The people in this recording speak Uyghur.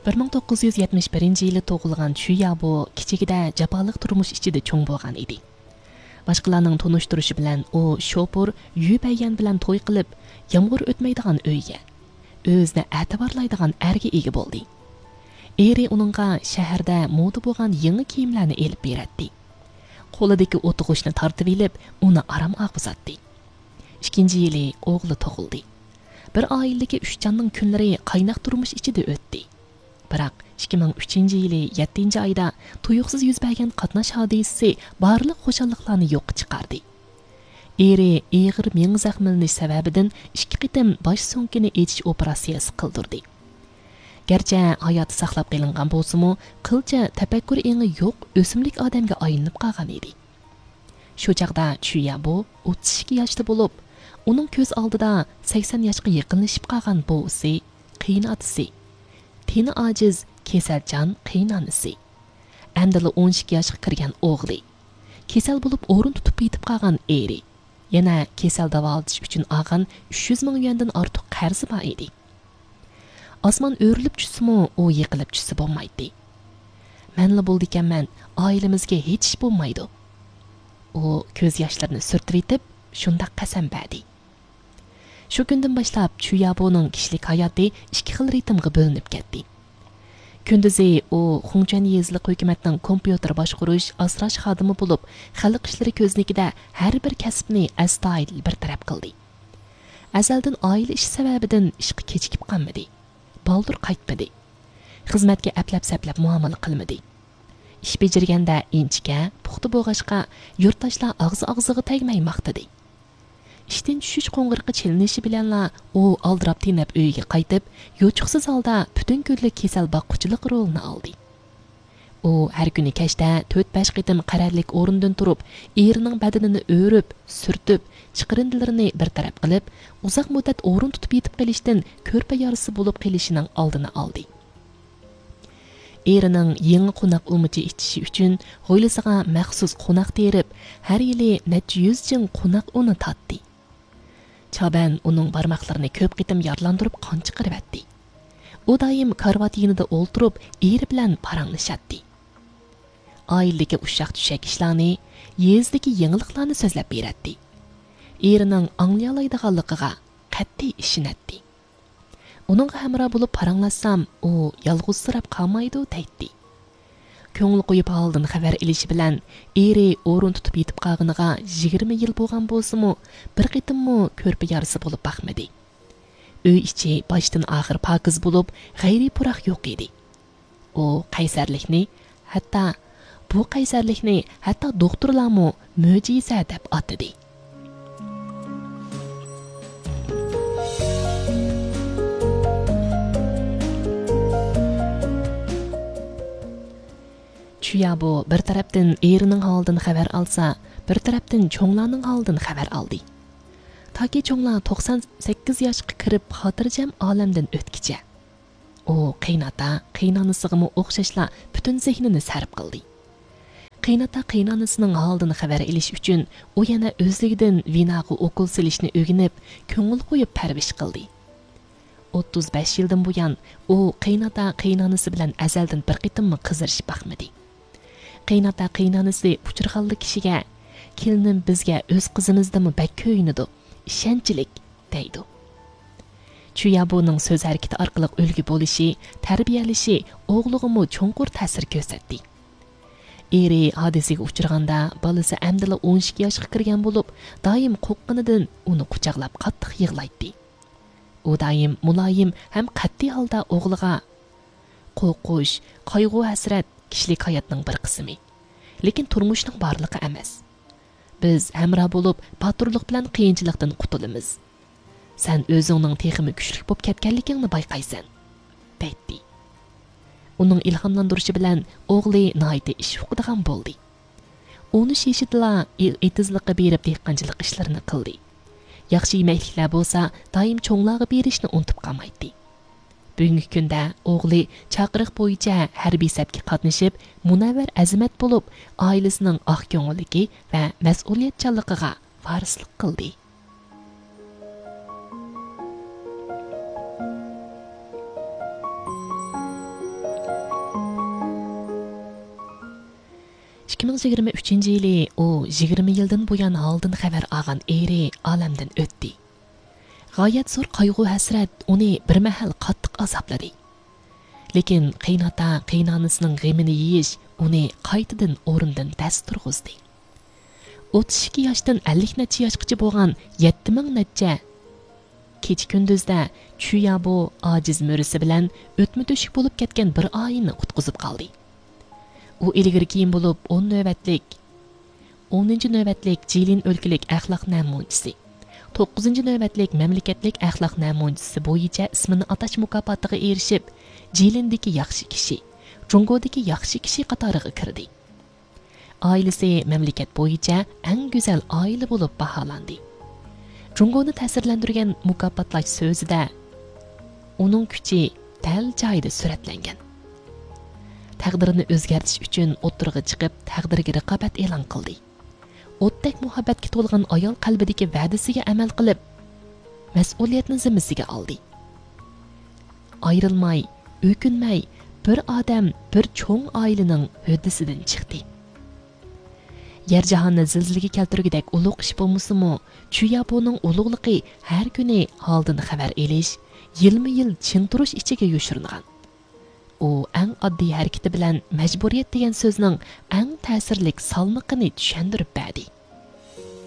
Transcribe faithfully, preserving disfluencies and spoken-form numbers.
بىر مىڭ توققۇز يۈز يەتمىش بىرىنچى يىلى تۇغۇلغان چۈييابو كىچىكىدە جاپالىق تۇرمۇش ئىچىدە چوڭ بولغان ئىدى. باشقىلارنىڭ تونۇشتۇرۇشى بىلەن ئۇ شوپۇر يۈ بەييەن بىلەن توي قىلىپ، يامغۇر ئۆتمەيدىغان ئۆيگە، ئۆزىنى ئەتىۋارلايدىغان ئەرگە ئىگە بولدى. ئېرى ئۇنىڭغا شەھەردە مودا بولغان يېڭى كىيىملەرنى ئېلىپ بېرەتتى. قولىدىكى ئوتغۇچنى تارتىۋېلىپ، ئۇنى ئارام ئالغۇزاتتى. ئىككىنچى يىلى ئوغلى تۇغۇلدى. بىر ئائىلىدىكى ئۈچ جاننىڭ كۈنلىرى قايناق تۇرمۇش ئىچىدە ئۆتتى. بىراق، ئىككى مىڭ ئۈچىنچى يىلى يەتتىنچى ئايدا تۇيۇقسىز يۈز بەرگەن قاتناش ھادىسىسى بارلىق خۇشاللىقلارنى يوققا چىقاردى. ئېرى ئېغىر مېڭە زەخىملىنىش سەۋەبىدىن ئىككى قېتىم باش سۆڭىكىنى ئېچىش ئوپېراتسىيەسى قىلدۇردى. گەرچە ھاياتى ساقلاپ قېلىنغان بولسىمۇ، قىلچە تەپەككۇر ئېڭى يوق ئۆسۈملۈك ئادەمگە ئايلىنىپ قالغان ئىدى. شۇ چاغدا چۈييابو ئوتتۇز ئىككى ياشتا بولۇپ، ئۇنىڭ كۆز ئالدىدا سەكسەن ياشقا يېقىنلىشىپ قالغان بوۋىسى، قېيىنئاتىسى، تېنى ئاجىز، كېسەلچان قېيىنئانىسى، ئەمدىلا ئون ئىككى ياشقا كىرگەن ئوغلى، كېسەل بولۇپ ئورۇن تۇتۇپ يېتىپ قالغان ئېرى، يەنە كېسەل داۋالىتىش ئۈچۈن ئالغان ئۈچ يۈز مىڭ يۈەندىن ئارتۇق قەرزى بار ئىدى. ئاسمان ئۆرۈلۈپ چۈشسىمۇ، ئۇ يىقىلىپ چۈشسە بولمايتتى. مەنلا بولىدىكەنمەن، ئائىلىمىزگە ھېچ ئىش بولمايدۇ. ئۇ كۆز ياشلىرىنى سۈرتۈۋېتىپ، شۇنداق قەسەم بەردى. شۇ كۈندىن باشلاپ چۈييابونىڭ كىشىلىك ھاياتى ئىككى خىل رىتىمغا بۆلۈنۈپ كەتتى. كۈندۈزى ئۇ خۇڭچۈەن يېزىلىق ھۆكۈمەتنىڭ كومپيۇتېر باشقۇرۇش، ئاسراش خادىمى بولۇپ، خەلق ئىشلىرى كۆزنىكىدە ھەر بىر كەسىپنى ئەستايىدىل بىر تەرەپ قىلدى. ئەزەلدىن ئائىلە ئىشى سەۋەبىدىن ئىشقا كېچىكىپ قالمىدى. بالدۇر قايتمىدى. خىزمەتكە ئەپلەپ-سەپلەپ مۇئامىلە قىلمىدى. ئىش بېجىرگەندە ئىنچىكە، پۇختا بولغاچقا، يۇرتداشلار ئاغزى-ئاغزىغا تەگمەي ماختىدى. ئىشتىن چۈشۈش قوڭغۇرىقى چېلىنىشى بىلەنلا ئۇ ئالدىراپ-تېنەپ ئۆيىگە قايتىپ، يوچۇقسىز ھالدا پۈتۈن كۈنلۈك كېسەل باققۇچىلىق رولىنى ئالدى. ئۇ ھەر كۈنى كەچتە تۆت-بەش قېتىم قەرەللىك ئورنىدىن تۇرۇپ، ئېرىنىڭ بەدىنىنى ئۆرۈپ، سۈرتۈپ، چىقىرىندىلىرىنى بىر تەرەپ قىلىپ، ئۇزاق مۇددەت ئورۇن تۇتۇپ يېتىپ قېلىشتىن كۆرپە يارىسى بولۇپ قېلىشىنىڭ ئالدىنى ئالدى. ئېرىنىڭ يېڭى قوناق ئۇمىچى ئېچىشى ئۈچۈن ھويلىسىغا مەخسۇس قوناق تېرىپ، ھەر يىلى نەچچە يۈز جىڭ قوناق ئۇنى تارتتى. چابەن ئۇنىڭ بارماقلىرىنى كۆپ قېتىم يارىلاندۇرۇپ قان چىقىرىۋەتتى. ئۇ دائىم كارىۋات يېنىدا ئولتۇرۇپ، ئېرى بىلەن پاراڭلىشاتتى. ئائىلىدىكى ئۇششاق-چۈششەك ئىشلارنى، يېزىدىكى يېڭىلىقلارنى سۆزلەپ بېرەتتى. ئېرىنىڭ ئاڭلىيالايدىغانلىقىغا قەتئىي ئىشىنەتتى. ئۇنىڭغا ھەمراھ بولۇپ پاراڭلاشسام، ئۇ يالغۇزسىراپ قالمايدۇ دەيتتى. كۆڭۈل قويۇپ ھالىدىن خەۋەر ئېلىشى بىلەن، ئېرى ئورۇن تۇتۇپ يېتىپ قالغىنىغا يىگىرمە يىل بولغان بولسىمۇ، بىر قېتىممۇ كۆرپە يارىسى بولۇپ باقمىدى. ئۆي ئىچى باشتىن ئاخىر پاكىز بولۇپ، غەيرىي پۇراق يوق ئىدى. ئۇ قەيسەرلىكنى، ھەتتا، بۇ قەيسەرلىكنى ھەتتا دوختۇرلارمۇ مۆجىزە دەپ ئاتىدى. چۈييابو بىر تەرەپتىن ئېرىنىڭ ھالىدىن خەۋەر ئالسا، بىر تەرەپتىن چوڭلارنىڭ ھالىدىن خەۋەر ئالدى. تاكى چوڭلار توقسان سەككىز ياشقا كىرىپ خاتىرجەم ئالەمدىن ئۆتكىچە. ئۇ قېيىنئاتا، قېيىنئانىسىغىمۇ ئوخشاشلا پۈتۈن زېھنىنى سەرپ قىلدى. قېيىنئاتا، قېيىنئانىسىنىڭ ھالىدىن خەۋەر ئېلىش ئۈچۈن ئۇ يەنە ئۆزلۈكىدىن ۋېناغا ئوكۇل سېلىشنى ئۆگىنىپ، كۆڭۈل قويۇپ پەرۋىش قىلدى. ئوتتۇز بەش يىلدىن بۇيان ئۇ قېيىنئاتا، قېيىنئانىسى بىلەن ئەزەلدىن بىر قېتىممۇ قىزىرىشىپ باقمىدى. قېيىنئاتا، قېيىنئانىسى ئۇچرىغانلا كىشىگە، «كېلىنىم بىزگە ئۆز قىزىمىزدىنمۇ بەك كۆيۈنىدۇ، ئىشەنچلىك» دەيدۇ. چۈييابۇنىڭ سۆز ھەرىكىتى ئارقىلىق ئۈلگە بولۇشى، تەربىيەلىشى ئوغلىغىمۇ چوڭقۇر تەسىر كۆرسەتتى. ئېرى ھادىسىگە ئۇچرىغاندا، بالىسى ئەمدىلا ئون ئىككى ياشقا كىرگەن بولۇپ، دائىم قورققىنىدىن ئۇنى قۇچاقلاپ قاتتىق يىغلايتتى. ئۇ دائىم مۇلايىم ھەم قەتئىي ھالدا ئوغلىغا، «قورقۇش، قايغۇ-ھەسرەت كىشىلىك ھاياتنىڭ بىر قىسمى. لېكىن تۇرمۇشنىڭ بارلىقى ئەمەس. بىز ھەمراھ بولۇپ، باتۇرلۇق بىلەن قىيىنچىلىقتىن قۇتۇلىمىز. سەن ئۆزۈڭنىڭ تېخىمۇ كۈچلۈك بولۇپ كەتكەنلىكىڭنى بايقايسەن» دەيتتى. ئۇنىڭ ئىلھاملاندۇرۇشى بىلەن ئوغلى ناھايىتى ئىش ئۇقىدىغان بولدى. ئون ئۈچ يېشىدىلا ئېتىزلىققا بېرىپ دېھقانچىلىق ئىشلىرىنى قىلدى. ياخشى يېمەكلىكلەر بولسا دائىم چوڭلارغا بېرىشنى ئۇنتۇپ قالمايتتى. بۈگۈنكى كۈندە ئوغلى چاقىرىق بويىچە ھەربىي سەپكە قاتنىشىپ، مۇنەۋۋەر ئەزىمەت بولۇپ، ئائىلىسىنىڭ ئاق كۆڭۈللۈكى ۋە مەسئۇلىيەتچانلىقىغا ۋارىسلىق قىلدى. ئىككى مىڭ يىگىرمە ئۈچىنچى يىلى ئۇ يىگىرمە يىلدىن بۇيان ھالىدىن خەۋەر ئالغان ئېرى ئالەمدىن ئۆتتى. غايەت زور قايغۇ-ھەسرەت ئۇنى بىر مەھەل قاتتىق ئازابلىدى. لېكىن قېيىنئاتا، قېيىنئانىسىنىڭ غېمىنى يېيىش ئۇنى قايتىدىن ئورنىدىن دەس تۇرغۇزدى. ئوتتۇز ئىككى ياشتىن ئەللىك نەچچە ياشقىچە بولغان يەتتە مىڭ نەچچە كېچە-كۈندۈزدە چۈيابو ئاجىز مۈرىسى بىلەن ئۆتمە-تۆشۈك بولۇپ كەتكەن بىر ئائىلىنى قۇتقۇزۇپ قالدى. ئۇ ئىلگىرى-كېيىن بولۇپ ئون نۆۋەتلىك، ئونىنچى نۆۋەتلىك جىلىن ئۆلكىلىك ئەخلاق نەمۇنىچىسى، توققۇزىنچى نۆۋەتلىك مەملىكەتلىك ئەخلاق نەمۇنىچىسى بويىچە ئىسمىنى ئاتاش مۇكاپاتىغا ئېرىشىپ، جىلىندىكى ياخشى كىشى، جۇڭگودىكى ياخشى كىشى قاتارىغا كىردى. ئائىلىسى مەملىكەت بويىچە ئەڭ گۈزەل ئائىلە بولۇپ باھالاندى. جۇڭگونى تەسىرلەندۈرگەن مۇكاپاتلاش سۆزىدە ئۇنىڭ كۈچى دەل جايىدا سۈرەتلەنگەن. تەقدىرىنى ئۆزگەرتىش ئۈچۈن ئوتتۇرىغا چىقىپ، تەقدىرگە رىقابەت ئېلان قىلدى. ئوتتەك مۇھەببەتكە تولغان ئايال قەلبىدىكى ۋەدىسىگە ئەمەل قىلىپ، مەسئۇلىيەتنى زىممىسىگە ئالدى. ئايرىلماي، ئۆكۈنمەي، بىر ئادەم، بىر چوڭ ئائىلىنىڭ ھۆددىسىدىن چىقتى. يەر جاھاننى زىلزىلىگە كەلتۈرگۈدەك ئۇلۇغ ئىش بولمىسىمۇ، چۈيابونىڭ ئۇلۇغلۇقى ھەر كۈنى ھالدىن خەۋەر ئېلىش، يىلمۇ يىل چىڭ تۇرۇش ئىچىگە يوشۇرۇنغان. ئۇ ئەڭ ئاددىي ھەرىكىتى بىلەن مەجبۇرىيەت دېگەن سۆزنىڭ ئەڭ تەسىرلىك سالمىقىنى چۈشەندۈرۈپ بەردى.